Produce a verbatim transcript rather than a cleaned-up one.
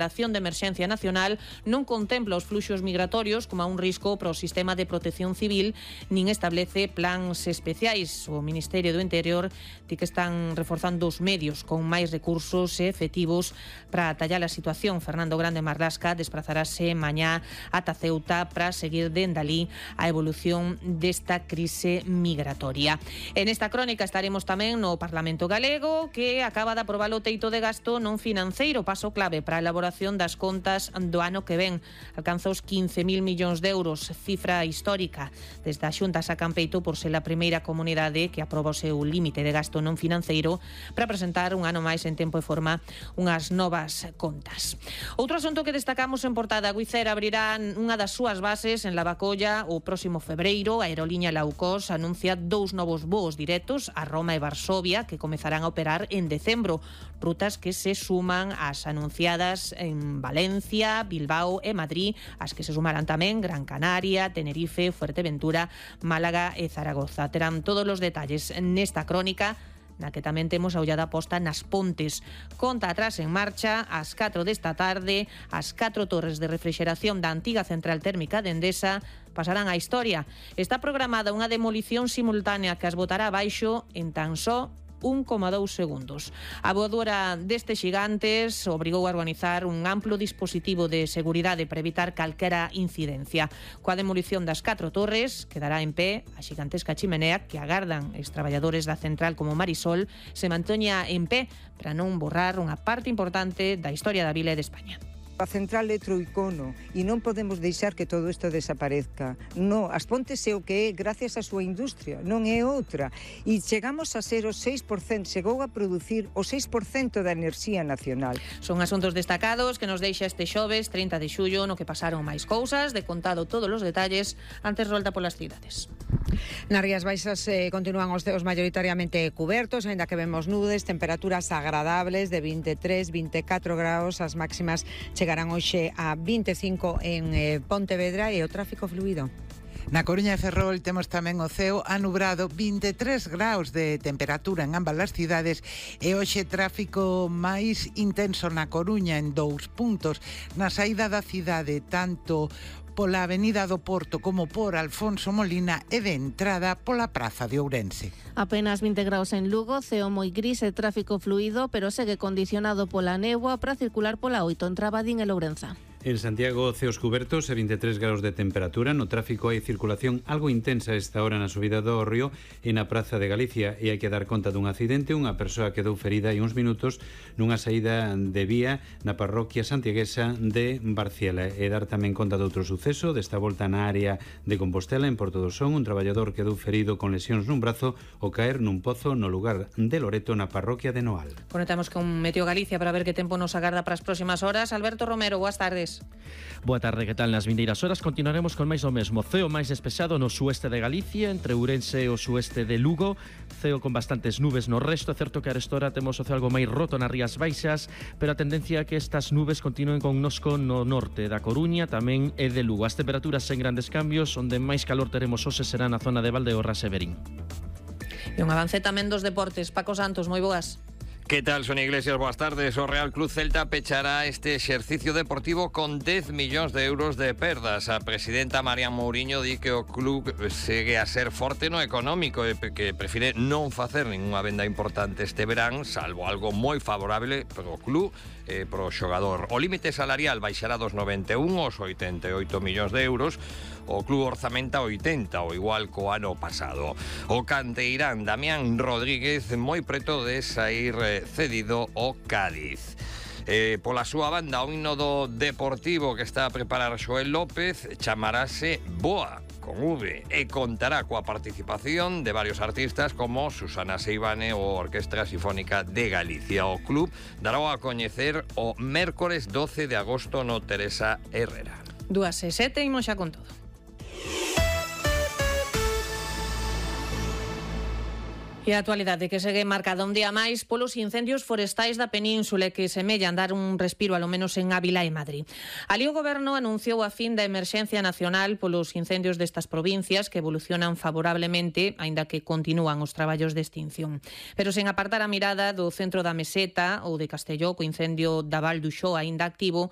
A acción de emerxencia nacional non contempla os fluxos migratorios como a un risco para o sistema de protección civil, nin establece plans especiais. O Ministerio do Interior di que están reforzando os medios con máis recursos e efectivos para atallar a situación. Fernando Grande Marlasca desplazarase mañá ata Ceuta para seguir dende alí a evolución desta crise migratoria. En esta crónica estaremos tamén no Parlamento Galego, que acaba de aprobar o teito de gasto non financeiro, paso clave para a elaboración das contas do ano que ven. Alcanza os quince mil millóns de euros, cifra histórica. Desde a Xunta sacan peito por ser a primeira comunidade que aproba o seu límite de gasto non financeiro para presentar un ano máis en tempo e forma unhas novas contas. Outro asunto que destacamos en portada: Wizz Air abrirá unha das súas bases en Lavacolla o próximo febreiro. A aerolínea Low Cost anuncia dous novos voos directos a Roma e Varsovia que comezarán a operar en decembro, rutas que se suman ás anunciadas en Valencia, Bilbao e Madrid, as que se sumarán tamén Gran Canaria, Tenerife, Fuerteventura, Málaga e Zaragoza. Terán todos os detalles nesta crónica, na que tamén temos a ollada posta nas Pontes. Conta atrás en marcha, ás catro desta tarde, as catro torres de refrixeración da antiga central térmica de Endesa pasarán á historia. Está programada unha demolición simultánea que as botará abaixo en tan só un coma dous segundos. A voadora destes xigantes obrigou a organizar un amplo dispositivo de seguridade para evitar calquera incidencia. Coa demolición das catro torres quedará en pé a xigantesca chimenea que agardan os traballadores da central como Marisol se manteña en pé para non borrar unha parte importante da historia da vila e de España. A central é Troicono e non podemos deixar que todo isto desaparezca. No, As Pontes é o que é gracias á súa industria, non é outra. E chegamos a ser o seis por cento, chegou a producir o seis por cento da enerxía nacional. Son asuntos destacados que nos deixa este xoves trinta de xullo, no que pasaron máis cousas, de contado todos os detalles, antes rolda polas cidades. Nas Rías Baixas eh, continúan os ceos maioritariamente cubertos, aínda que vemos nubes, temperaturas agradables de vinte e tres, vinte e catro graus, as máximas chegarán hoxe a vinte e cinco en eh, Pontevedra e o tráfico fluido. Na Coruña e Ferrol temos tamén o ceo anubrado, vinte e tres graus de temperatura en ambas as cidades e hoxe tráfico máis intenso na Coruña en dous puntos. Na saída da cidade, tanto pola Avenida do Porto como por Alfonso Molina e de entrada pola Praza de Ourense. Apenas vinte graus en Lugo, ceo moi gris e tráfico fluido, pero segue condicionado pola néboa para circular pola oito en Trabadín e Lourenza. En Santiago, ceos cubertos e vinte e tres graus de temperatura. No tráfico hai circulación algo intensa esta hora na subida do Río e na Praza de Galicia, e hai que dar conta dun accidente. Unha persoa quedou ferida hai uns minutos nunha saída de vía na parroquia santiaguesa de Barciela. E dar tamén conta de outro suceso, desta volta na área de Compostela, en Porto do Son. Un traballador quedou ferido con lesións nun brazo ao caer nun pozo no lugar de Loreto, na parroquia de Noal. Conectamos con Meteo Galicia para ver que tempo nos agarda para as próximas horas. Alberto Romero, boas tardes. Boa tarde, que tal? Nas vindeiras horas continuaremos con máis o mesmo. Ceo máis despexado no sueste de Galicia, entre Ourense e o sueste de Lugo. Ceo con bastantes nubes no resto. É certo que a restora temos o ceo algo máis roto nas Rías Baixas, pero a tendencia é que estas nubes continúen connosco no norte da Coruña, tamén e de Lugo. As temperaturas sen grandes cambios, onde máis calor teremos hoxe será na zona de Valdeorras e Verín. E un avance tamén dos deportes. Paco Santos, moi boas. ¿Qué tal, Sonia Iglesias? Buenas tardes. O Real Club Celta pechará este exercicio deportivo con dez millóns de euros de perdas. A presidenta María Mourinho di que o club segue a ser forte no económico e que prefire non facer ninguna venda importante este verán, salvo algo moi favorable para o club e para o xogador. O límite salarial baixará dos noventa e un aos oitenta e oito millóns de euros. O club orzamenta oitenta, o igual co ano pasado. O canteirán Damián Rodríguez moi preto de sair cedido ao Cádiz. Eh, pola súa banda, o himno do Deportivo que está a preparar Xoel López chamarase Boa, con V, e contará coa participación de varios artistas como Susana Seivane ou Orquestra Sinfónica de Galicia. O club dará a coñecer o mércores doce de agosto no Teresa Herrera. Dúas e sete, imos xa con todo. E a actualidade que segue marcada un día máis polos incendios forestais da península que semellan dar un respiro alo menos en Ávila e Madrid. Ali o Goberno anunciou a fin da emerxencia nacional polos incendios destas provincias que evolucionan favorablemente, aínda que continúan os traballos de extinción. Pero sen apartar a mirada do centro da Meseta ou de Castelló, co incendio da Val do Xó aínda activo,